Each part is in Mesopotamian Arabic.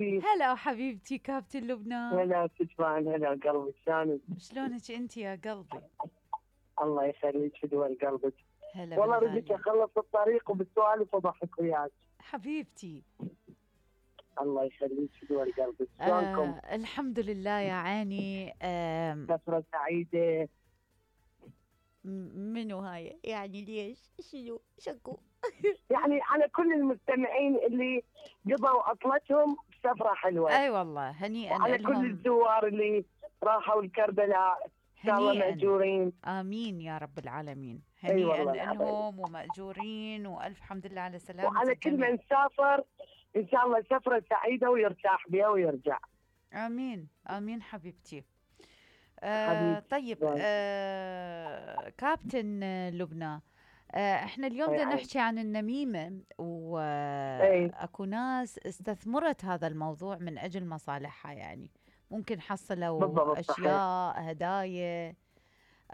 هلا حبيبتي كابتن لبنى. هلا تجمعن، هلا قلبي شلونك؟ شلونك انت يا قلبي؟ الله يخليك في دول قلبك. هلا والله رديت بالغالي اخلص الطريق وبالسوالف وضحك وياك. حبيبتي. الله يخليك في دول قلبك، شلونكم؟ الحمد لله يا عيني. فترة سعيدة. منو هاي يعني ليش شنو شكو؟ يعني على كل المستمعين اللي قضوا عطلتهم بسفرة حلوة. اي والله هنيئا وعلى كل لهم. الزوار اللي راحوا الكربلاء ان شاء الله هنيئا مأجورين. امين يا رب العالمين. اي هنيئا والله العظيم. لهم ومأجورين والف حمد لله على سلامة وعلى كل الجميع. من سافر ان شاء الله سفرة سعيدة ويرتاح بها ويرجع. امين امين حبيبتي. حبيبتي. طيب كابتن لبنى، احنا اليوم بدنا نحكي عن النميمة، واكو ناس استثمرت هذا الموضوع من اجل مصالحها، يعني ممكن حصلوا بالضبط صحيح. اشياء هدايا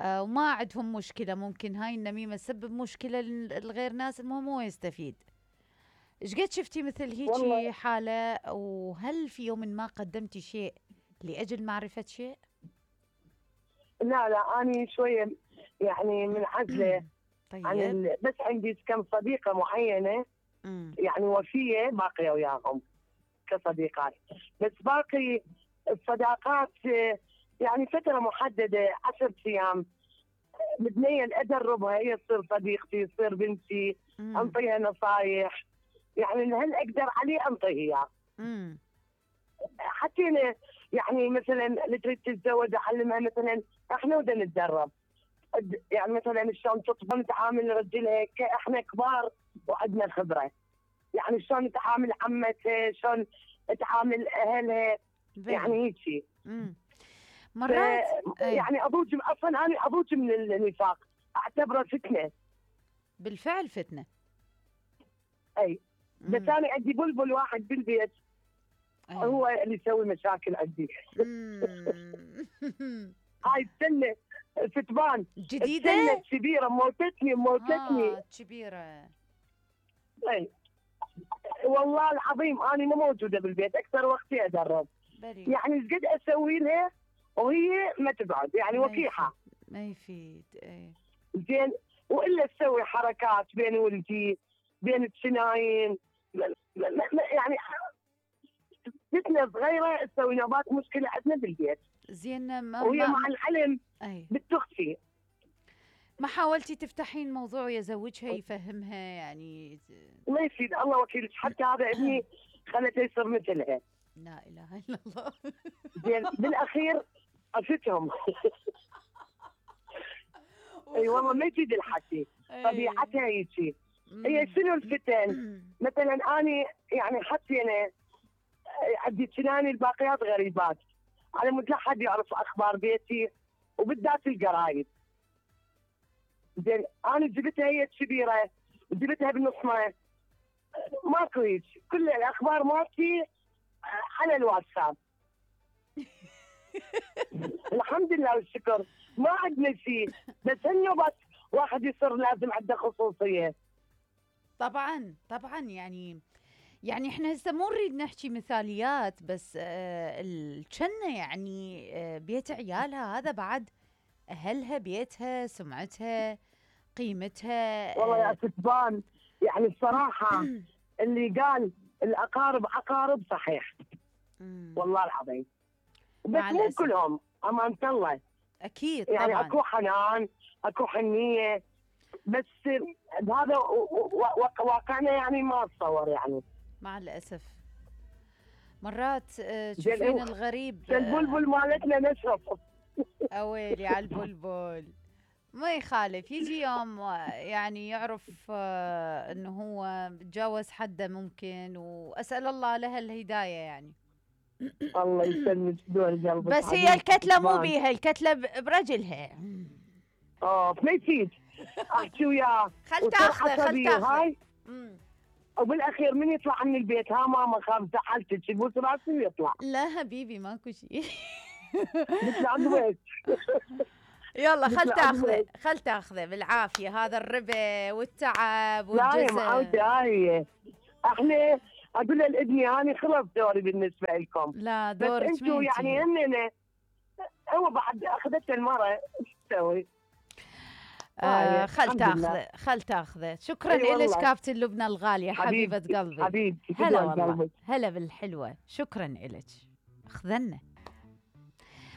وما عندهم مشكلة، ممكن هاي النميمة تسبب مشكلة لغير ناس، المهم هو يستفيد. ايش قد شفتي مثل والله هيجي حالة؟ وهل في يوم ما قدمتي شيء لأجل معرفة شيء؟ لا أنا شوية يعني منعزلة عن طيب. بس عندي كم صديقة معينة يعني وفية باقية وياهم كصديقات، بس باقي الصداقات يعني فترة محددة 10 أيام متنيل أدربها، هي تصير صديقتي تصير بنتي، أنطيها نصايح، يعني هل أقدر عليه أنطيه إياه. حتى أنا يعني مثلا اللي تريد تتزوج أعلمها مثلا احنا بدنا نتدرب، يعني مثلا شلون تطبخ نتعامل رجلها احنا كبار وعندنا خبره، يعني شلون تعامل عمتها، شلون تعامل اهلها، يعني هيك شيء. مرات يعني اضوج اصلا انا اضوج من النفاق، اعتبره فتنه. بالفعل فتنه. اي بس انا عندي بلبل واحد بالبيت هو اللي يسوي مشاكل عندي. هاي السنه فتبان جديده السنه كبيره موتتني كبيره. اي والله العظيم انا مو موجوده بالبيت، اكثر وقتي ادرب. يعني ايش قد اسوي لها وهي ما تقعد، يعني وكيحه ما يفيد. اي زين، والا تسوي حركات بين ولدي بين الثنايين يعني فتنه صغيره تسوي نوبات مشكله عندنا بالبيت. زين وهي مع العلم بتخفي. ما حاولتي تفتحين موضوع ويزوجها يفهمها يعني؟ ما يفيد، الله وكيلك، حتى هذا ابني خلته يصير مثلها. لا اله الا الله. زين بالاخير افتهم. اي والله ما يفيد الحكي، طبيعتها هيك. هي شنو الفتن؟ مثلا انا يعني حسينا عندي سناني الباقيات غريبات، على مود لا حد يعرف اخبار بيتي وبالذات القرايب. زين انا جبتها هي كبيره وجبتها بنص ماكو هيك، كل الاخبار مالتي على الواتساب. الحمد لله والشكر ما عندنا شيء، بس النوبات واحد يصير لازم عنده خصوصيه. طبعا يعني احنا هسه مو نريد نحكي مثاليات، بس الجنة يعني بيت عيالها هذا بعد اهلها، بيتها، سمعتها، قيمتها. والله يا ستبان يعني الصراحه اللي قال الاقارب عقارب صحيح. والله العظيم، بس مو كلهم امانه الله. اكيد يعني طبعا اكو حنان اكو حنيه، بس هذا واقعنا يعني ما اتصور يعني مع الاسف. مرات تشوفين الغريب. البلبل مالتنا نشرف. اويلي على البلبل. ما يخالف يجي يوم يعني يعرف انه هو تجاوز حده ممكن، واسال الله لها الهدايه يعني. الله يسلمك دول قلبك. بس هي الكتله مو بيها، الكتله برجلها. ما يفيد احكي وياه خل تاخذه. وبالاخير من يطلع من البيت ها ماما خاف زعلتك يبوس راسي ويطلع. لا حبيبي ماكو شيء. نطلع البيت. يلا خل تاخذه بالعافيه، هذا الربا والتعب والجزء. لا يا معودة هاي احنا اقول له لابني انا خلص دوري بالنسبه لكم. لا بس دورك انتم يعني هن هو بعد اخذته المره ايش تسوي؟ خل تاخذه. شكرا أي لك كابتن لبنى الغالية حبيبة حبيبتي قلبي. حبيبتي هلا تدوم والله قلبك. هلا بالحلوة. شكرا لك. اخذنا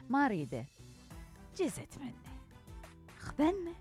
ما اريده جزت منه اخذنا.